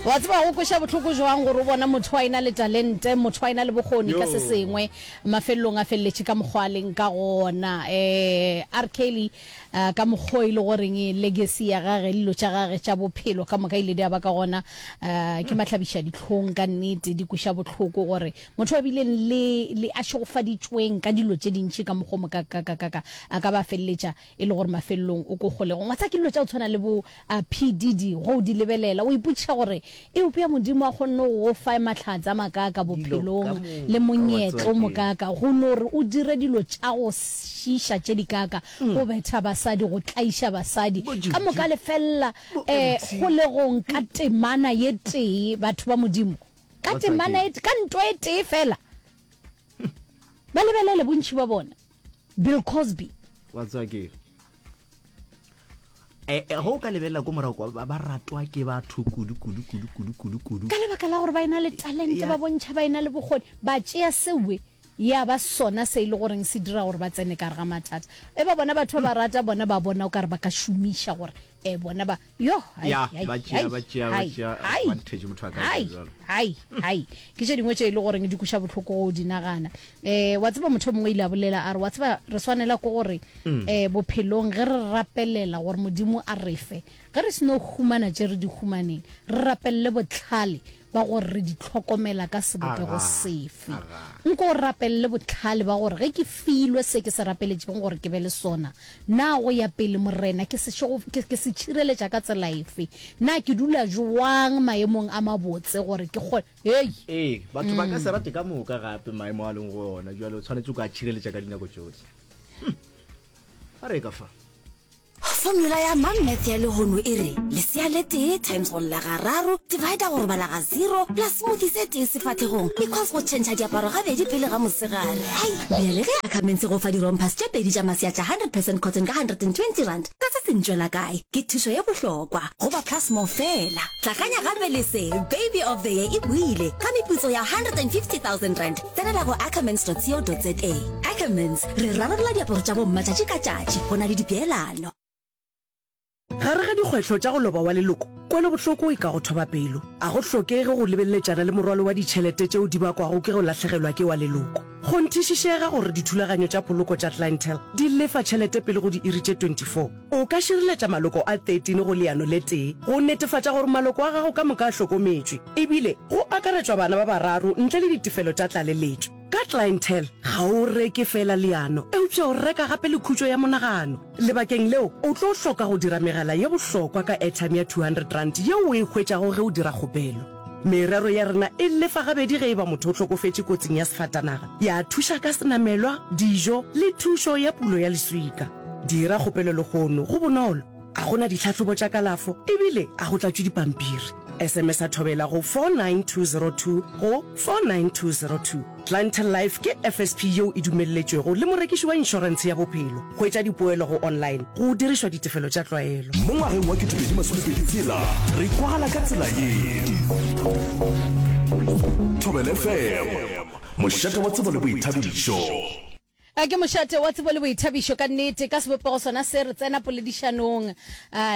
Wa tseba go kweša bohloko jwang gore o bona motho a ena le talente, motho a ena le bokgoni ka se sengwe, mafelelong a feleletše ka mokgwa a leng ka gona. Eh, R. Kelly, uh, ka mokgwa o e le goreng legacy ya gage le dilo tša gage tša bophelo ka moka ile di a ba ka gona, uh, ke mahlabiša dihlong ka nnete, di kweša bohloko gore motho a bileng le, le a šegofaditšweng ka dilo tše dintši ka mokgwa o mokakakakaka a ka ba a feleletša e le gore mafelelong o ko kgolegong. Wa tseba ke dilo tša go tshwana le bo P. Diddy ge o di lebelela o ipotšiša gore eupša Modimo a kgonne go go fa mahlatse a makaaka bophelong le monyetla o mokaaka go no re o dire dilo tša go šiiša tše dikaaka, go betha basadi, go tlaiša basadi, ka moka le felela um kgolegong ka temana ye tee, batho ba Modimo, ka temana e, ka ntwa e tee fela. Ba lebelele bontši ba bona. Bill Cosby. Wa tseba ke eh, eh, go ka lebelela ko morago kwa ba ratwa ke batho kudu kudu kudu kudu kudu kudu ka lebaka la gore ba ena le talente ba bontšha ba ena le bokgoni ba tšea sewe ya ba sona se e le goreng se dira gore ba tsene ka gare ga mathata e ba bona batho ba ba rata bona ba bona o ka re ba ka šomiša gore e bona ba yo hai, Ya, hai, ba tšea- hai, ba tšea- ba hai, tšea hai, advantage motho a ka hai, etsa jwalo. hai hai ke tše dingwe tše e le goreng di kweša bohloko go di nagana um wa tseba motho o mongwe ile a bolela a re wa tseba re swanela ke gore um bophelong ge re rapelela gore modimo a re fe ge re seno humana tše re di humaneng re rapelele bohlale ba gore re di hlokomela ka sebopego Aga, sefe. aga. Nko o rapelele bohlale ba gore ge ke filwe se ke se rapeletšego gore ke be le sona, na go ya pele, Morena, ke se šego, ke, ke se tšhireletša ka tsela efe? Na ke dula jwang maemong a mabotse gore ke kgone, hei! Ee, batho ba ka se rate ka moka gape maemo a leng go ona, bjale o tshwanetse o ka tšhireletša ka dinako tšohle. Hm. A re ka fa. Formula ya MumMath ya lehono e re, lesea le tee times go lla gararo, divider go robala ga zero, plus smoothie se tee sefahlegong, equals go tšhentšha diaparo gabedi pele ga mosegare. Hai! Bjale ge Ackermans e go fa di-rompers tše pedi tša masea tša 100 percent cotton ka R120, ka se se ntšwela kae? Ke thušo ye bohlokwa go ba Plus More feela. Hlakanya gape le se, Baby of the Year e boile ka meputso ya R150 000. Tsenela go ackermans.co.za. Ackermans, re rarolla diaparo tša bomma tšatši ka tšatši, go na le dipeelano. Gare ga dikgwetlho tša go loba wa leloko, kwelobohloko e ka go thoba pelo. A go hlokege go lebeleletšana le morwalo wa ditšhelete tšeo di bakwago ke go lahlegelwa ke wa leloko. Kgonthišišega gore dithulaganyo tša poloko tša Clientele di lefa tšhelete pele go diiri tše 24. O ka šireletša maloko a 13 go leano le tee go netefatša gore maloko a gago ka moka a hlokometšwe, ebile go akaretšwa bana ba bararo ntle le ditefelo tša tlaleletšo. Ka Clientele, ga o reke feela leano, eupša o reka gape le khutšo ya monagano. Lebakeng leo, o tlo hloka go dira megala ye bohlokwa ka airtime ya R200 yeo o e hwetšago ge o dira kgopelo. Merero ya rena e lefa gabedi ge e ba motho o hlokofetše kotsing ya sefatanaga, ya thuša ka senamelwa, dijo le thušo ya pulo ya leswika. Dira kgopelo lehono, go bonolo, a go na ditlhahlobo tša kalafo ebile a go tlatšwe dipampiri. SMS-a Thobela go 49202 go 49202. Clientele Life ke FSP yeo e dumelletšwego le morekiši wa inšorentshe ya bophelo. Hwetša dipoelo go online go dirišwa ditefelo tša tlwaelo. Mo ngwageng wa 2026 re kwagala ka tsela ye. Thobela FM, mošate wa tsebo le boithabišo. A ke mošate wa tsebo le boithabišo ka nnete. Ka sebopego sona se, re tsena poledišanong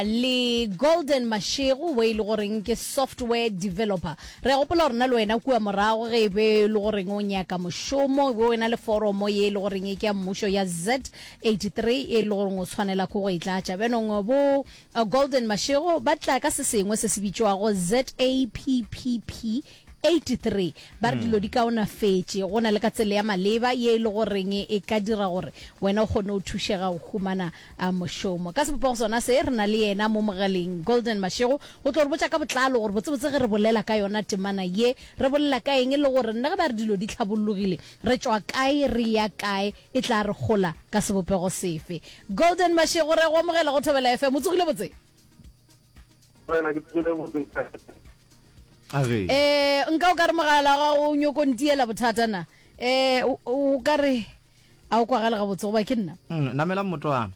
le Golden Mashego wo e le goreng ke software developer. Re a gopola gore nna le wena kua morago ge e be e le goreng o nyaka mošomo, o be o ena le foromo ye e le goreng e ke ya mmušo ya Z83 e le goreng o tshwanela ke go e tlatša. Bjanong bo Golden Mashego ba tla ka se sengwe se se bitšwago ZAPPP 83 ba re dilo di kaonafetše, go na le ka tsela ya maleba ye e le goreng e ka dira gore wena o kgone go thušega go humana mošomo. Ka sebopego sona se, re na le yena mo mogaleng, Golden Mashego, go tlo re botša ka botlalo gore botsebotse ge re bolela ka yona temana ye, re bolela ka eng le gore nna ge ba re dilo di hlabollogile, re tšwa kae, re ya kae, e tla re hola ka sebopego sefe. Golden Mashego, re a go amogela go Thobela FM. O tsogile botse? Morena, ke tsogile botse. A re. Eh, nka o ka re mogala wa gago o nyoko ntiela bothata na? Eh, o, o ka re a o kwagale gabotse goba ke nna? Mm, namela mmotwana.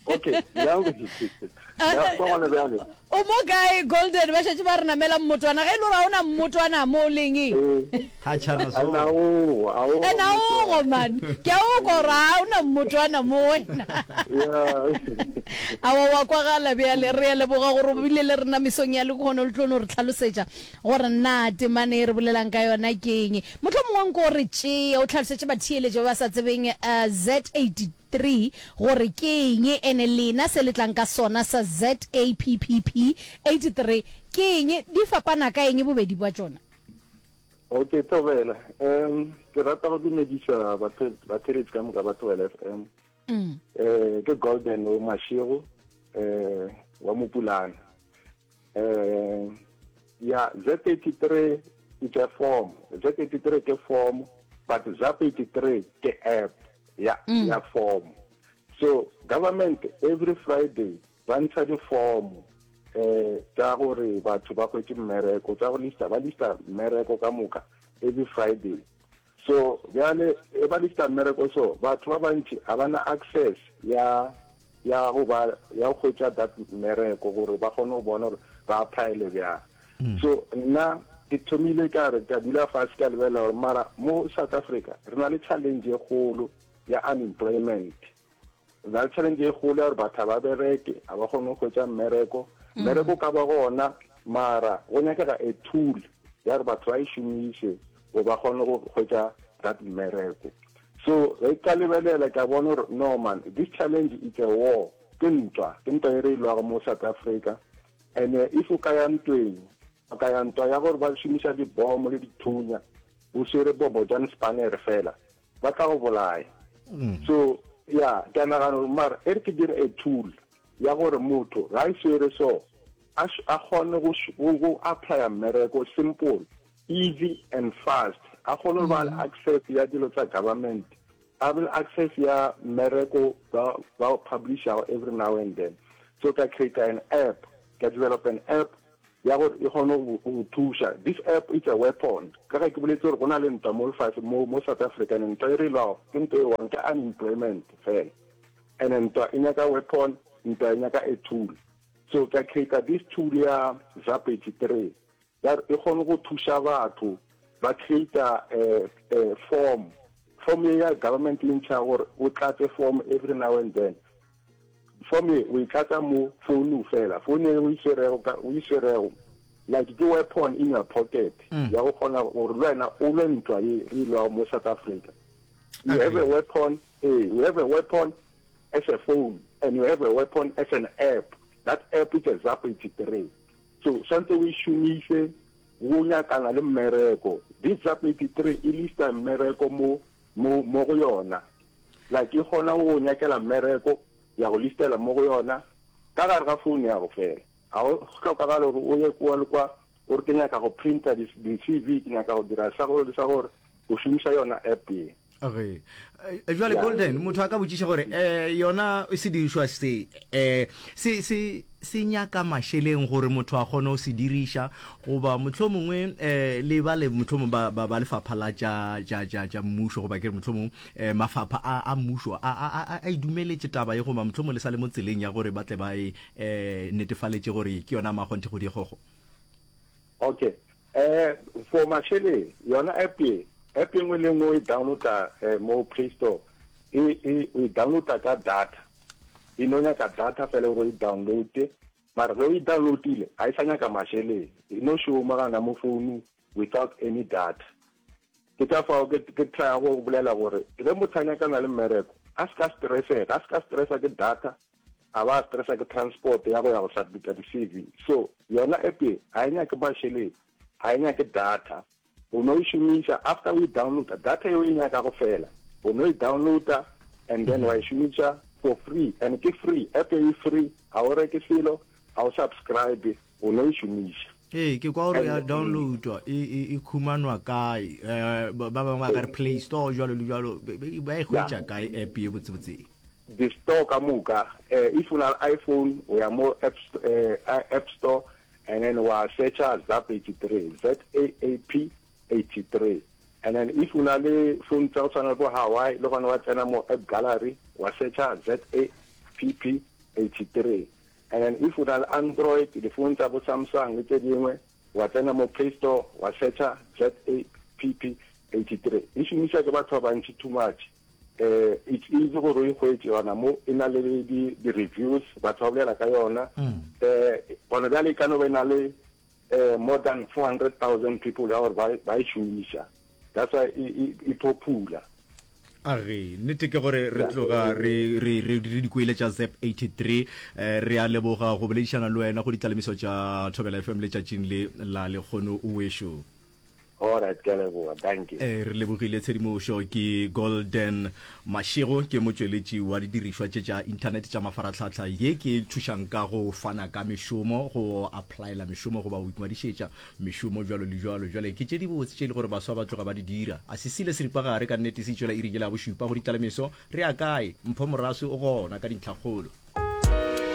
Okay, bjang ke Ya kwa gona bjale. O O mo kae Golden? Ba šetše ba re namela mmotwana. Ge e le gore ga o na mmotwana mo o leng e. Ga tšhana so. And a ogo man. Ke a o kwa gore ga o na mmotwana mo wena. Aowa wa kwagala bjale. Re a leboga gore o bile le rena mesong ya lehono le tlo no re tlhalosetša gore na temana e re bolelang ka yona ke eng. Mohlomongwe nko o re tšee o tlhalosetše batheeletši ba ba sa tsebeng Z83 gore ke eng, ene lena se le tlang ka sona sa ZAPPP 83 ke eng, di fapana ka eng bobedi bwa tšona? Okay, Thobela. Um, ke rata go dumediša batheeletši ka moka ba Thobela FM. Mm. Eh, ke Golden o Mashego eh wa Mopulana. Eh, ya Z83 it's a form. Z83 ke form, but ZAP83 ke app ya mm. ya form. So government every Friday ba ntsha di form eh tsa gore batho ba hwetše mmereko tsa go lista ba lista mmereko ka moka every Friday. So bjale e ba lista mmereko so batho ba bantši ga ba na access ya ya go ba ya go hwetša that mmereko gore ba kgone go bona gore ba applyele bjang. So nna ke thomile ka re ka dula fase ka lebelela gore mara mo South Africa re na le challenge e kgolo ya unemployment. Re na le challenge e kgolo ya gore batho ga ba bereke, ga ba kgone go hwetša mmereko. Mmereko o ka ba gona mara go nyakega a tool ya gore batho ba e šomiše gore ba kgone go hwetša that mmereko. So ge ka lebelela ka bona gore no man, this challenge it's a war, ke ntwa, ke ntwa e re e lwago mo South Africa. And if o ka ya ntweng, o ka ya ntwa ya gore ba šomiša dibomo le dithunya, o swere bomo jang spanere fela, ba tla go bolaya. So ya, ke a nagana gore mara e re ke dire a tool ya gore motho ga e swere so, a a kgone go go applya mmereko simple, easy and fast. A kgone go ba le access ya dilo tsa government, a be le access ya mmereko ba ba o publishago every now and then. So ka create an app, ka develop an app ya gore e kgone go go thuša. This app it's a weapon. Ka ge ke boletse gore go na le ntwa mo lefase mo mo South Africa, and ntwa e re e lwago ke ntwa e one, ke unemployment fela. And ntwa e nyaka weapon, ntwa e nyaka a tool. So ka create this tool ya ZAP 83 ya gore e kgone go thuša batho ba create form. Form ye ya government e ntšha gore o tlatse form every now and then. Form ye o e tlatsa mo founung fela, phone e o e swerego ka o e swerego like ke weapon in your pocket ya go kgona gore le wena o lwe ntwa ye re e lwago mo South Africa. You have a weapon, ee, you have a weapon as a phone and you have a weapon as an app. That app is a ZAP 83. So swantse o e šomiše go nyakana le mmereko. This ZAP 83 e lista mmereko mo mo mo go yona. Like e kgona go go nyakela mmereko, ya go listela mo go yona ka gare ga phone ya go fela. Ga go hlokagale gore o ye kua le kwa o re ke nyaka go printa di di CV, ke nyaka go dira sa gore le sa gore, o šomiša yona app ye. Okay. Eh, jwale Golden, motho a ka botšiša gore eh yona sedirišwa se eh se se se nyaka mašeleng gore motho a kgone go se diriša goba mohlomongwe eh le ba le mohlomongwe ba ba, ba lefapha la tša tša tša tša mmušo goba ke re mohlomongwe eh mafapha a a mmušo a a a a e dumeletše taba ye goba mohlomongwe le sa le mo tseleng ya gore ba tle ba e eh netefaletše gore ke yona makgonthe go dikgogo. Okay. Eh for mašeleng yona app ye, app e nngwe le nngwe o e downloada eh, mo Play Store e e o e downloada ka data. E no nyaka data fela gore o e downloade, mara ge o e downloadile ga e sa nyaka mašeleng, e no šoma gana mo founung without any data. Ke ka fao ke ke trya go bolela gore ge motho a nyakana le mmereko a se ka stressega, a se ka stressa ke data, a ba stressa ke transport ya go ya go submita di-C_V. So yona app ye ga e nyake mašeleng, ga e nyake data. O no e šomiša after o e downloada, data ye o e nyakago fela o no e downloada and then wa e šomiša for free, and ke free, app ye e free, ga o reke selo, ga o subscribe, o no e šomiša. Ee, ke kwa gore ya downloadwa e, e, e khumanwa kae? Eh, ba ba bangwe ba ka re Play Store jwalo le jwalo, ba e hwetša kae app ye botsebotse? Di-store ka moka, eh, if o na le iPhone o ya mo app, eh, app store and then wa searcha ZAP 83, Z-A-A-P 83, and then if o na le phone tsa go tshwana le bo Hawaii le gona wa tsena mo app gallery wa searcha Z-A-P-P 83. And then if o na le Android, difounu tsa bo Samsung le tse dingwe, wa tsena mo Play Store wa searcha ZAPP 83. E šomišwa ke batho ba bantši too much. Eh, it's easy gore o e hwetše yona mo, e na le di, di reviews, batho ba bolela ka yona. Eh, gona bjale e ka no ba e na le eh, more than 400,000 people ya gore ba, ba e šomiša. That's why e, e, e popular. A re, nnete ke gore re tloga re, re, re, re di kwele tša Zep 83. Eh, re a leboga go boledišana le wena go ditlalemiso tša Thobela FM letšatšing le la lekgono wešo. Alright, ke a leboga. Dankie. Eh, re lebogile tshedimošo. Ke Golden Mashego, ke motšweletši wa didirišwa tše tša internet tša mafarahlahla ye ke thušang ka go fana ka mešomo, go applyela mešomo goba go ingwadišetša mešomo bjalo le bjalo. Bjale ke tše dibotse tše e le gore baswa ba tloga ba di dira. A se sile seripagare ka nnete se itšwela iring yela ya bošupa go ditlalemeso. Re ya kae? Mpho Moraswi o gona ka dintlhakgolo.